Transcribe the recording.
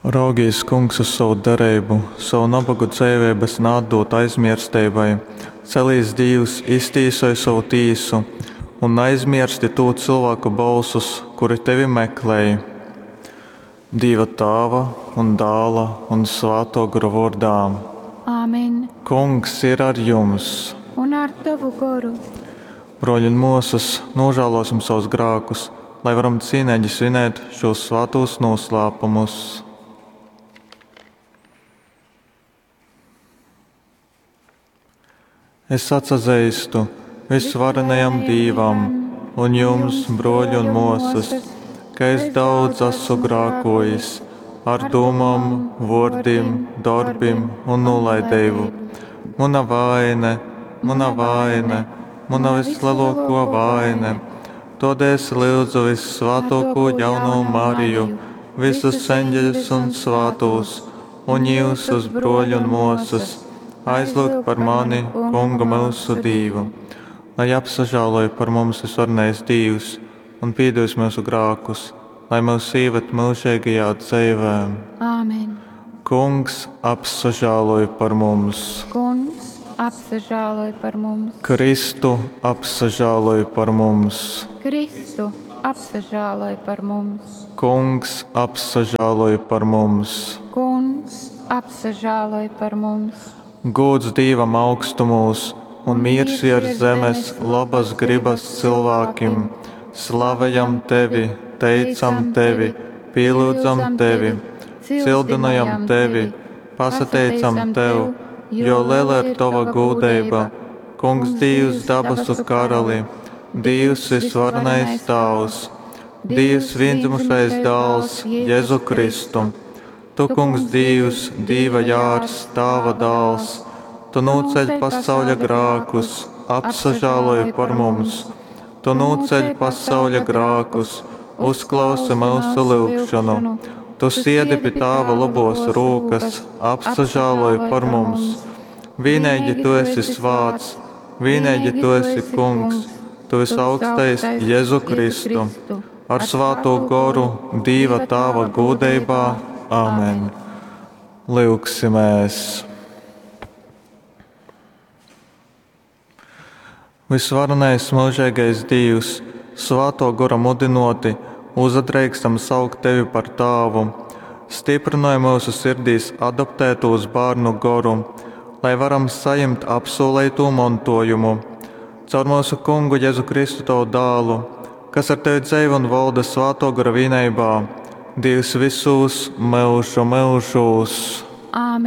Raugīs, Kungs, uz sovu dereibu, sovu nabogu dzeiveibas naatdūd aizmiersteibai. Celīs, Dīvs, iztīsoj sovu tīsu un naizmiersti tū cylvāku bolsus, kuri tevi meklej. Dīva Tāva un Dāla un Svātō Gora vōrdā. Āmen. Kungs ir ar jums! Un ar tovu goru. Brōļi un mōsas, nūžālōsim savus grākus, lai varam cīneigi svinēt šūs svātūs noslēpumus. Es atsazeistu visvarenajam Dīvam un jums, brōļi un mōsas, ka es daudz esmu grākojis ar dūmom, vōrdim, dorbim un nūlaideibu. Muna vaine, muna vaine, muna vislielākā vaine. Tādēļ es lūdzu vissvātāko jauno Mariju, visus eņģeļus un svātos, un jūsus brōļi un māsas, aizlūgt par mani, Kungu mūsu Dīvu. Lai apsažāloj par mums visvarenais Dīvs un piedos mūsu grākus, lai mūs ieved mūžīgajā dzīvē. Āmen. Kungs apsažāloj par mums. Kungs apsažāloj par mums. Kristu apsažāloj par mums. Kristu apsažāloj par mums. Kungs apsažāloj par mums. Kungs apsažāloj par mums. Gūds Dīvam augstumūs un miers virs zemes labas gribas cilvēkiem. Slavējam tevi, teicam tevi, pielūdzam tevi, cildinājam tevi, pasateicam tev, jo liela ir tava gūdeiba. Kungs Dīvs dabasu karali, Dīvs visvarenais Tāvs, Dīvs viendzimušais dāls Jēzu Kristu. Tu, Kungs Dīvs, Dīva jārs, Tāva dāls, Tu nūceļ pasauļa grākus, apsažāloj par mums. Tu nūceļ pasauļa grākus, uzklausi mūsu lūgšanu. Tu siedi pie Tāva labos rūkas, apsažāloj par mums. Vienīgi Tu esi svāts, vienīgi Tu esi Kungs, Tu visaugstais Jēzu Kristu. Ar svāto goru Dīva Tāva gūdeibā. Āmen. Lūgsimies! Visvarenais mūžīgais Dīvs, svāto gora mudinoti, uzadreikstam saukt tevi par tāvu, stiprinoj mūsu sirdīs adoptētos bērnu goru, lai varam saņemt apsolīto mantojumu. Caur mūsu kungu Jēzu Kristu tavu dālu, kas ar tevi dzīvo un valda svāto gora vienībā, Dievs visos mūžu mūžos. Āmen.